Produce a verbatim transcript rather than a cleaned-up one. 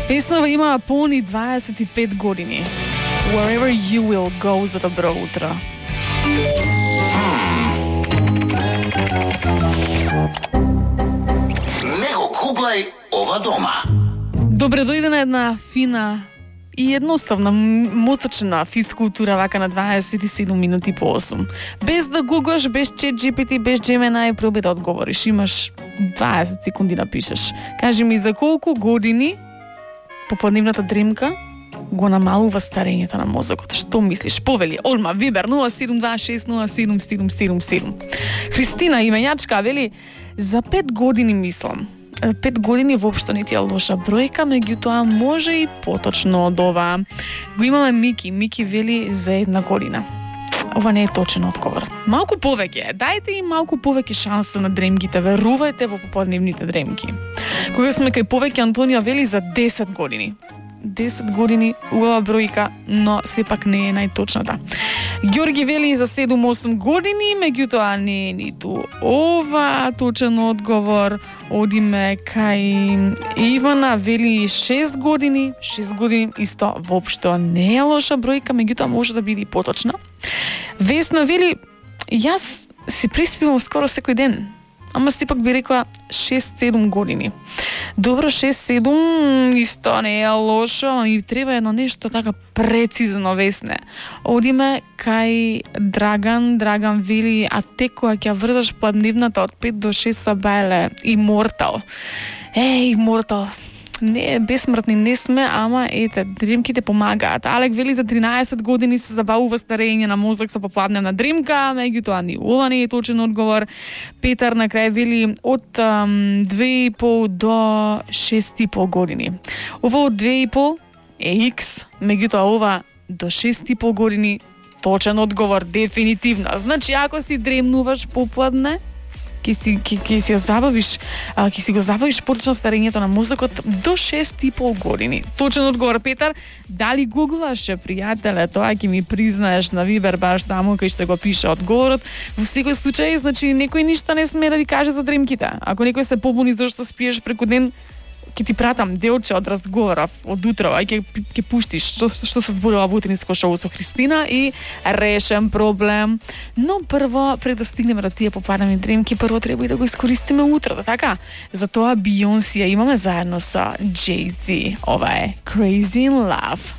Песнава има полни дваесет и пет години. Wherever you will go за добро утро. Не го гуглај ова дома. Добре дојде на една фина и едноставна, мозочна физкултура вака на дваесет и седум минути по осум. Без да гуглаш, без чат джи пи ти, без Gemini, проби да одговориш. Имаш дваесет секунди да пишеш. Кажи ми за колку години попладневната дремка го намалува старењето на мозокот. Што мислиш? Повели, Олма, Вибер, нула седум два шест нула седум седум седум седум. Христина, именјачка, вели, за пет години мислам. Пет години воопшто не ти е лоша бројка, меѓутоа може и поточно од ова. Го имаме Мики. Мики вели за една година. Ова не е точен одговор. Малку повеќе, дајте им малку повеќе шанса на дремките, верувајте во попладневните дремки. Кога сме кај повеќе, Антонија вели за десет години. десет години, убава бројка, но сепак не е најточната. Ѓорги вели за седум-осум години, меѓутоа не е ниту ова точен одговор. Одиме кај Ивана, вели шест години. шест години исто воопшто не е лоша бројка, меѓутоа може да биде и поточна. Весна вели, јас се преспивам скоро секој ден. Ама сепак би рекла шест-седум години. Добро, шест-седум исто не е лошо, ама ми треба едно нешто така прецизно, Весне. Одиме кај Драган. Драган вели, а те кога ќе врдаш пладневната од пет до шест са бајле, Immortal. Е, Immortal. Не, бесмртни не сме, ама ете, дремките помагаат. Алек вели за тринаесет години се забавува старење на мозок со попладневна дремка, меѓутоа ни ова не е точен одговор. Петар на крај вели од um, две и пол до шест и пол години. Ова од две и пол е X, меѓутоа ова до шест и пол години точен одговор дефинитивно. Значи ако си дремнуваш попладне, Ки си, ки, ки си, забавиш, а, ки си го забавиш поточно старењето на мозокот до шест и пол години. Точен одговор, Петар. Дали гуглаше, пријателе, тоа ќе ми признаеш на Вибер баш таму кај што го пише одговорот. Во секој случај, значи некој ништо не сме да ви каже за дремките. Ако некој се побуни зашто спиеш преку ден, ќе ти пратам делче од разговоров од утро, ај ќе ќе пуштиш што што се зборува во утринско шоу со Христина и решен проблем. Но прво, пред да стигнеме до тие попаднени дремки, прво треба и да го искористиме утрото, така? Затоа Бейонсе имаме заедно со Jay-Z. Ова е Crazy in Love.